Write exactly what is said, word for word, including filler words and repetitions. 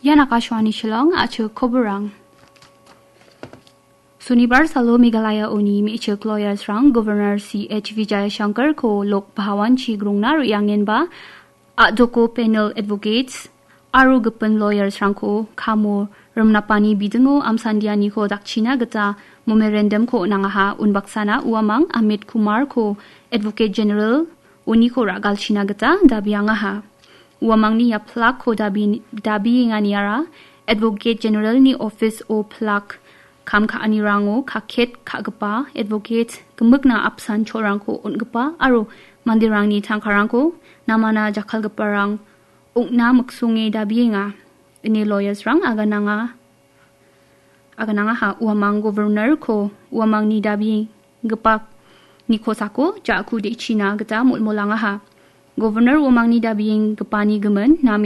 Ian Akashvani Shillong, a·chik koborang. Sonibar salo Meghalaya uni me·chik lawyers-rang Governor C H Vijayashankar-ko Lok Bhawan-chi grongna re·angenba a·doko panel advocates aro gipin lawyers-rangko kamo rimnapani bidingo amsandianiko dakchina gita memorandum-ko on·angaha. Unbaksana uamang Amit Kumar-ko Advocate General uniko ra·galchina gita dabiangaha. Uamangni ia plak-ko dabi-, dabienganiara Advocate General-ni office-o plak kam ka·anirango kaket ka·gipa advocate gimikna apsan cholrangko on·gipa aro manderangni tangkarangko namana jakkalgiparang ong·na miksonge dabienga, ine lawyers-rang agananga. Aganangaha uamang Governor-ko uamangni dabienggipa nikosako ja·ku de·china gita molmolangaha. Governor uamangni dabienggipani gimin nam